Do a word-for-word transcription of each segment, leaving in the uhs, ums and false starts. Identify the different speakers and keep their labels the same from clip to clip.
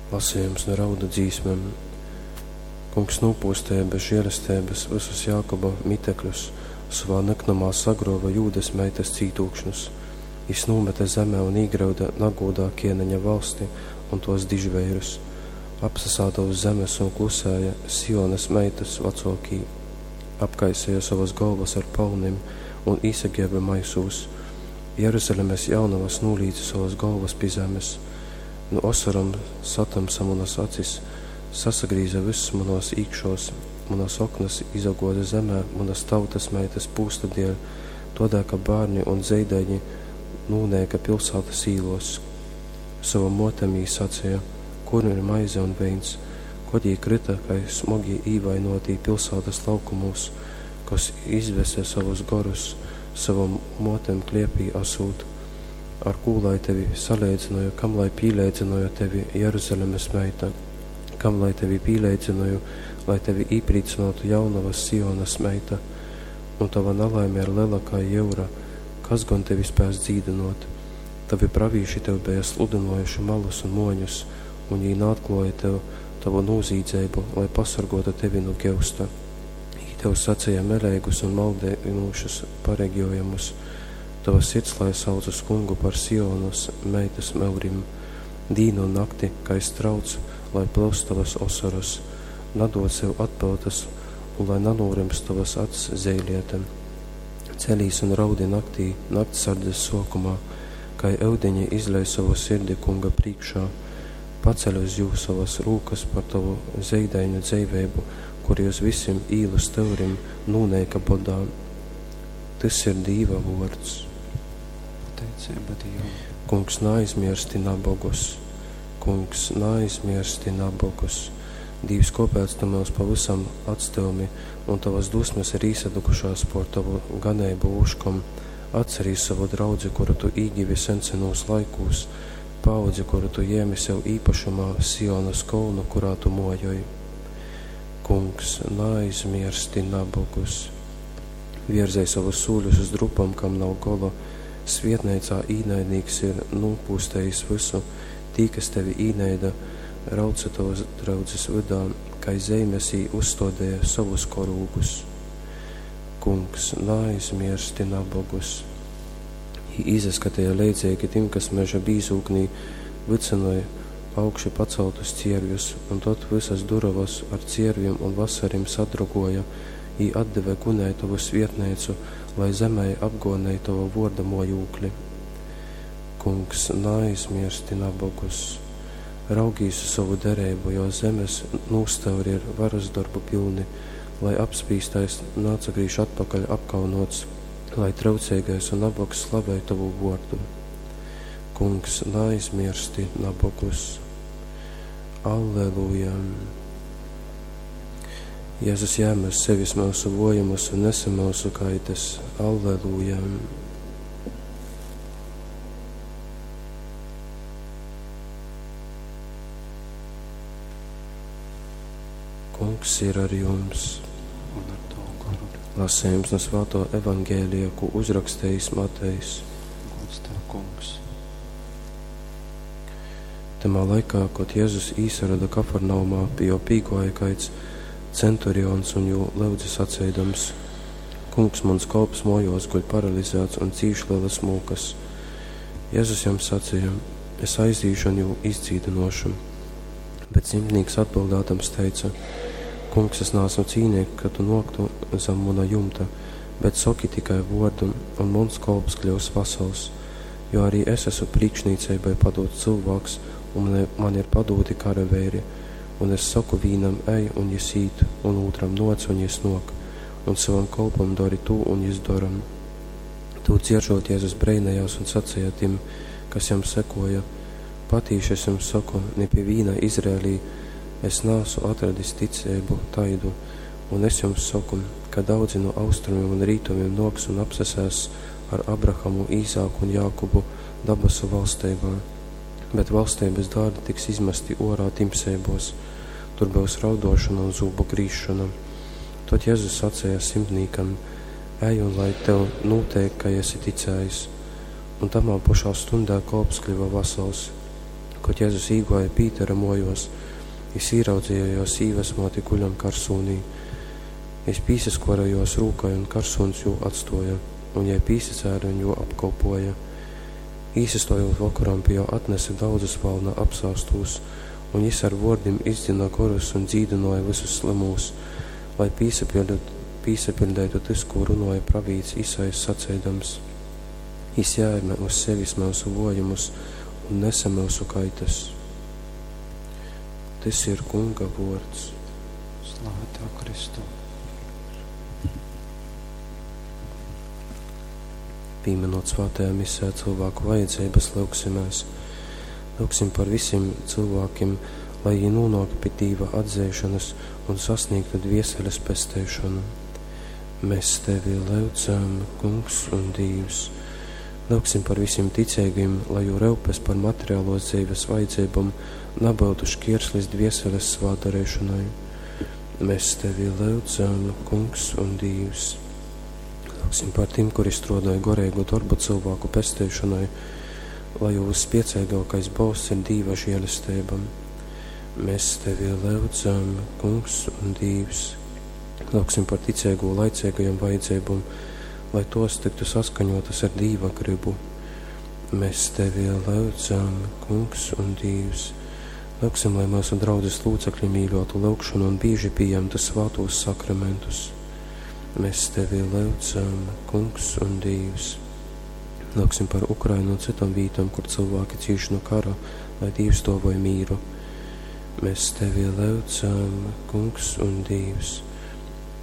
Speaker 1: Lasījums no raudu dzīsmēm. Kungs nūpūstēja bez žēlestības visus Jākoba mitekļus, savā nyknumā sagrova Jūdas meitas cītūkšņus. Jis nūmete zemē un īgrauda nagūdā kieneņa valsti un tos dižveirus. Apsasāda uz zemes un klusēja Sionas meitas vecōkī. Apkaisēja savas galvas ar palnim un īsaģēba maisūs. Jeruzalemes jaunavas nūlīca savas galvas pi zemes. Nu osorom satamsa manas acis, sasagrīza viss manos īkšos, manas oknas izagoza zemē, manas tautas meitas pūsta dēļ, todēļ, ka bērni un zeidaiņi nūnēka pilsētas īlos. Savam motem jī sacīja, kur ir maize un veins, kod jī krita, kai smogi īvainotī pilsētas laukumūs, kas izvese savus gorus, savam motem kliepī asūt. Ar kū lai tevi saleidzinoju, kam lai pīleidzinoju tevi, Jeruzalemes meita? Kam lai tevi pīleidzinoju, lai tevi īprīcinātu jaunavas Sionas meita? Un tava nelaime ir lela kā jyura, kas gan tevi spēs dzīdinot? Tavi pravīši tev bija sludinojuši malus un moņus, un jī naatklāja tev tavu nūzīdzeibu, lai pasargotu tevi no geusta. Jī tev sacīja meleigus un maldinošus pareģojumus. Tava sirds lai sauc uz kungu par Sionas meitas meurim. Dīnu un nakti, kai strauts, lai plūst tavas osoras, nadod sev atpūtas un lai nanūrims tavas acs zeiliete. Celīs un raudi naktī, naktsardzes sokumā, kai eudeņi izlej savu sirdi kunga priekšā. Paceļ uz jū savas rūkas par tavu zeidaiņu dzeiveibu, kuri uz visiem īlu stūrim nūneika bodā. Tys ir Dīva vōrds.
Speaker 2: Pateicība Dievam.
Speaker 1: Kungs, naaizmirsti nabogus. Kungs, naaizmirsti nabogus. Dīvs, kāpēc tu mūs pavisam atstūmi, un tavas dusmas ir īsadukušās por tavu ganeibu vuškom? Atcerīs savu draudzi, kuru tu īgivi sensenos laikūs, paudzi, kuru tu jēmi sev īpašumā, Sionas kolnu, kurā tu mojoj. Kungs, naaizmirsti nabogus. Vierzēj savus sūļus uz drupam, kam nav gola. Svietneicā īnaidnīks ir nopūstējis visu, tī, kas tevi īnaida, rauca tavas draudzes vydā, kai zeimes jī uzstādīja savus korūgus. Kungs, naaizmirsti nabogus. Jī izaskatīja leidzīgi tim, kas meža bīzūknī vicināja augši paceltus ciervjus, un tad visas durovas ar cierviem un vasarim sadrugoja, jī atdeve gunei tavu svietneicu, lai zemē apgonēja tavu vorda mojūkli. Kungs, naaizmirsti nabogus. Raugīs uz savu derību, jo zemes nūstauri ir varas darbu pilni, lai apspīstais nācagrīž atpakaļ apkaunots, lai traucīgais un nabogs slavē tavu vordu. Kungs, naaizmirsti nabogus. Alleluja! Jēzus jēma uz sevis mūsu vojumus un nesa mūsu kaitas. Alleluja! Kungs ir ar jums.
Speaker 2: Un ar tavu garu.
Speaker 1: Lasījums no Svēto evangēlija, ko uzrakstījis Matejs.
Speaker 2: Gods tev, kungs.
Speaker 1: Tamā laikā, kad Jēzus īsarada Kafarnaumā, pie jo pīgoja kaids centurions un jū lūdza sacīdams: Kungs, mans kolps mojos guļ paralizēts un cīš lielas mūkas. Jēzus jam sacīja: Es aizīšu un jū izdzīdinošu. Bet simtnieks atbildēdams teica: Kungs, es neesmu cīnīgi, ka tu noktu zem mana jumta, bet soki tikai vordu, un mans kolps kļūs vasals, jo arī es esmu priekšniecībai padots cilvēks, un man, man ir padoti karaveiri, un es saku vīnam ej, un jis īt, un otram noc, un jis nok, un savam kolpam dari tu, un jis daram. Tū dzieržot Jēzus breinējās un sacīja tim, kas jam sekoja: Patīši es jums saku, ne pie vīna Izrēlī es nāsu atradis ticību taidu, un es jums saku, ka daudzi no austrumiem un rītumiem noks un apsesēs ar Abrahamu, Īzāku un Jākubu dabasu valstībā, bet valstības dārdi tiks izmesti orā timsēbos, tur būs raudošana un zūbu grīšana. Tad Jēzus sacīja simtniekam: Ej un lai tev notiek, ka esi ticējis. Un tamā pašā stundā kolps kļuva vasals. Kod Jezus īguoja Pītera muojuos, jis īraudzeja juo sīvasmuoti guļam karsūnī. Jis pīsaskuore juos rūkai, un karsūns jū atstuoja, un jei pīsacēle un jū apkolpuoja. Īsastojūt vokoram, pi juo atnese daudzus valna apsāstūs, un jis ar vuordim izdzyna gorus un dzīdynuoja vysus slymūs, lai pīsapiļdeitu tys, kū runuoja pravīts Isaijs saceidams: Jis jēme uz sevis myusu vuojumus un nese myusu kaitas. Tys ir Kunga vuords.
Speaker 2: Slava Tev, Kristu!
Speaker 1: Pīminot svātajā misē cilvēku vajadzības, lyugsimēs. Lyugsim par visiem cilvēkiem, lai viņi nonāk pie Dīva atzeišanas un sasniegtu dvieseles pesteišanu. Mēs Tevi lyudzam, Kungs un Dīvs. Lyugsim par visiem ticīgiem, lai jū ryupes par materiālos dzīves vajadzībām nebūtu šķierslis dvieseles svātdarīšanai. Mēs Tevi lyudzam, Kungs un Dīvs. Lūgsim par tiem, kuri strādāja gorīgu darbu cilvēku pesteišanai, lai jū vyspiecīgākais bolsts ir Dīva žēlestība. Mēs Tevi lyudzam, Kungs un Dīvs. Lūgsim par ticīgo laicīgajām vajadzībām, lai tos tiktu saskaņotas ar Dīva gribu. Mēs Tevi lyudzam, Kungs un Dīvs. Lūgsim, lai mūsu draudzes locekļi mīļotu lūgšanu un bieži pieņemtu svātos sakramentus. Mēs Tevi lyudzam, Kungs un Dīvs. Lūgsim par Ukrainu un citām vītām, kur cilvēki cīš no kara, lai Dīvs dāvoj mīru. Mēs Tevi lyudzam, Kungs un Dīvs.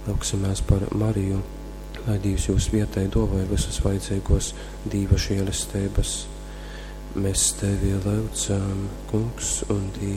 Speaker 1: Lūgsimies par Mariju, lai Dīvs jūs vietai dāvoj visas vajadzīgos Dīva žēlestības. Mēs Tevi lyudzam, Kungs un Dīvs.